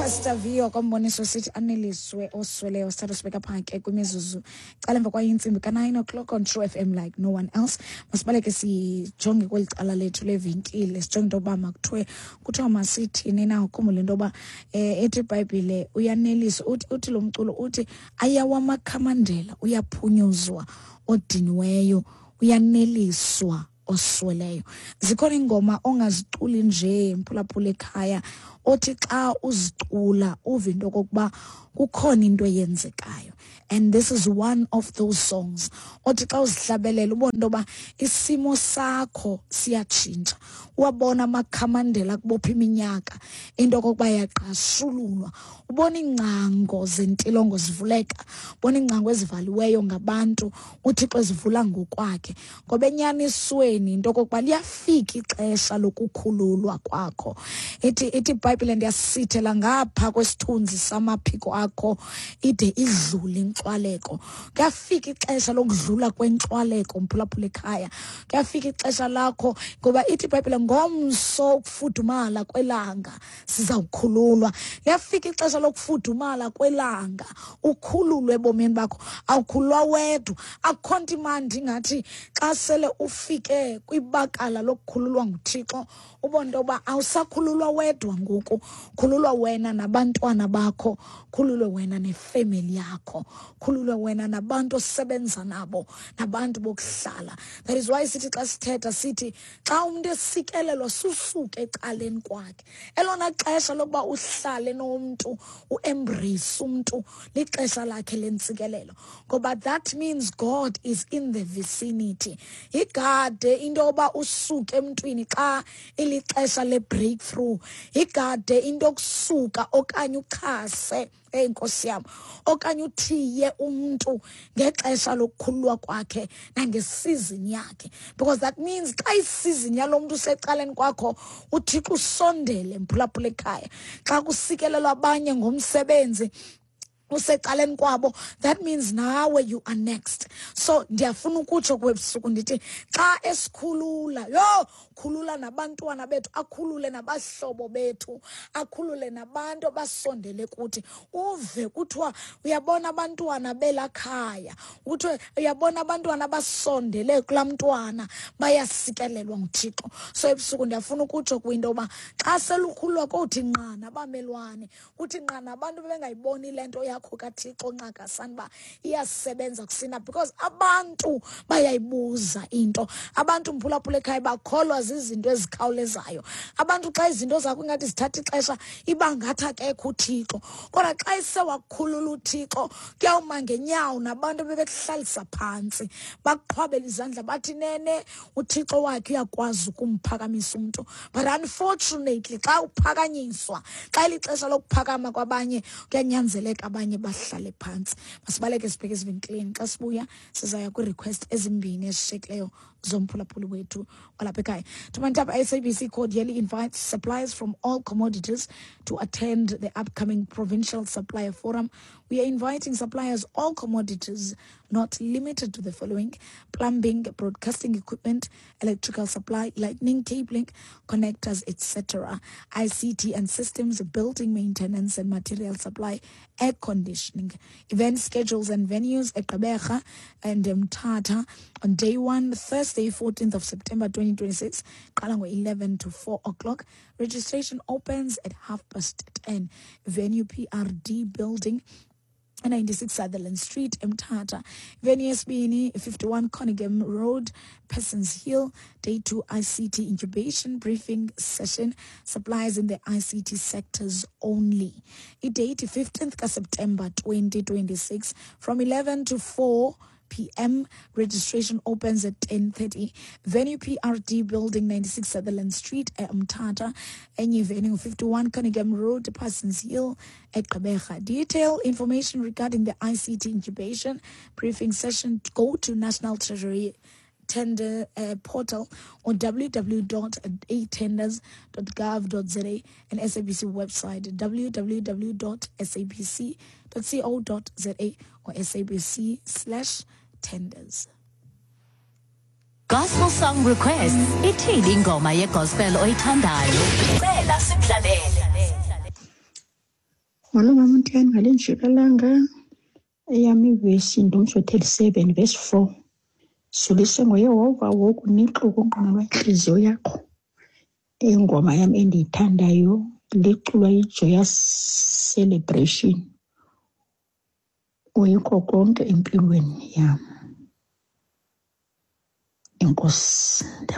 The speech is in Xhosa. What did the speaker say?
Pastor Vio komboniso sithi aneliswe osweleyo. Sithatha sibeka phaa ke kwimizuzu cala emva kwayo intsimbi ka-9 o'clock on True FM like no one else. Masibaleke sijonge kweli cala lethu levenkile, sijonge into yoba makuthiwe kuthiwa masithini na. Ukhumbule into yoba ethi iBhayibhile uyaneliswa, uthi lo mculo uthi ayawamakhamandela, uyaphunyuzwa odiniweyo, uyaneliswa osweleyo. Zikhona iingoma ongaziculi nje, mphulaphula ekhaya, othi xa uzicula uve into okokuba kukhona into eyenzekayo, and this is one of those songs othi xa uzihlabelela ubone into yoba isimo sakho siyatshintsha, uwabona amakhamandela kubopha iminyaka into okokuba yaqashululwa, ubona iingcango zentilongo zivuleka, ubona iingcango ezivaliweyo ngabantu uThixo ezivula ngokwakhe. Ngoba enyanisweni into okokuba liyafika ixesha lokukhululwa kwakho. Ithi iBhayibhile, ndiyasithela ngapha kwesithunzi samaphiko akho ide idlule inkxwaleko. Kuyafika ixesha lokudlula kwenkxwaleko, mphulaphula ekhaya. Kuyafika ixesha lakho, ngoba ithi iBhayibhile ngomso ukufudumala kwelanga sizawukhululwa. Liyafika ixesha lokufudumala kwelanga, ukhululwe ebomini bakho. Awukhululwa wedwa. Akukho nto imandi ingathi xa sele ufike kwibakala lokukhululwa nguThixo, ubone into yoba awusakhululwa wedwa ngoku, khululwa wena nabantwana bakho, khululwe wena nefemeli yakho, khululwe wena nabantu osebenza nabo, nabantu bokuhlala. That is why sithi xa sithetha sithi xa umntu esikelelwa susuke ecaleni kwakhe. Elona xesha lokuba uhlale nomntu, uembrace umntu, lixesha lakhe lentsikelelo, ngoba that means God is in the vicinity. Igade into yoba usuke emntwini xa ilixesha le-breakthrough, igade into yokusuka okanye uchase, eyi nkosi yam, okanye uthiye umntu ngexesha lokukhululwa kwakhe nangesizini yakhe, because that means xa isizini yalo mntu usecaleni kwakho, uThixo usondele. Mphulaphula ekhaya, xa kusikelelwa abanye ngomsebenzi usecaleni kwabo, that means nawe you are next. So ndiyafuna ukutsho kwebusuku ndithi xa esikhulula, yho, khulula nabantwana bethu, akhulule nabahlobo bethu, akhulule nabantu abasondele kuthi. Uve kuthiwa uyabona abantwana belakhaya, kuthiwe uyabona abantwana abasondele kulaa mntwana bayasikelelwa nguThixo. So ebusuku ndiyafuna ukutsho kwinto yoba xa selukhululwa kothi nqa nabamelwane, kuthi nqa nabantu bebengayiboni le nto yakho kaThixo nqakasani uba iyasebenza kusina, because abantu bayayibuza into. Abantu, mphulaphula ekhaya, bakholwa zizinto ezikhawulezayo. Abantu xa izinto zakho ingathi zithatha ixesha, iba ngathi akekho uThixo, kodwa xa isewakukhulula uThixo, kuyawuma ngenyawo nabantu bebekuhlalisa phantsi, bakuqhwabela izandla, bathi nene uThixo wakhe uyakwazi ukumphakamisa umntu. But unfortunately xa uphakanyiswa, xa ilixesha lokuphakama kwabanye, kuyanyanzeleka abanye bahlale phantsi. Masibaleke sibheke ezivenkileni. Xa sibuya sizaya kwii-request ezimbini ezishiyekileyo zomphulaphuli wethu walapha ekhaya. Tumantap SABC cordially invites suppliers from all commodities to attend the upcoming Provincial Supplier Forum. We are inviting suppliers all commodities, not limited to the following: plumbing, broadcasting equipment, electrical supply, lightning cabling, connectors, etc., ICT and systems, building maintenance and material supply, air conditioning. Event schedules and venues at Gqeberha and Mthatha on day one, Thursday, 14th of September 2026, qala ngo-11 to 4 o'clock. Registration opens at 10:30. Venue PRD Building, 96 Sutherland Street, Mthatha. Venue yesibini, 51 Cunningham Road, Persons Hill. Day 2, ICT incubation briefing session, suppliers in the ICT sectors only. Idate 15th ka-September 2026 from 11 to 4 p.m. Registration opens at 10:30. Venue PRD Building, 96 Sutherland Street, Mthatha. Enye venue 51 Cunningham Road, Parsons Hill, at Gqeberha. Detailed information regarding the ICT incubation briefing session, go to National Treasury tender portal on www.atenders.gov.za and SABC website www.sabc.co.za or SABC/tenders. Gospel song requests. Ithini ingoma yegospel oyithandayo? Cela sikudlalele. Molo mama uNtiyani, ngale njikalanga eyam ivesi nguMzwi 37 verse 4. Zulise ngoYehova wokunika ukunquma lwentliziyo yakho. Ingoma yam endiyithandayo liculwa yiJoyous Celebration. Uyikho konke empilweni yam. Enkosi.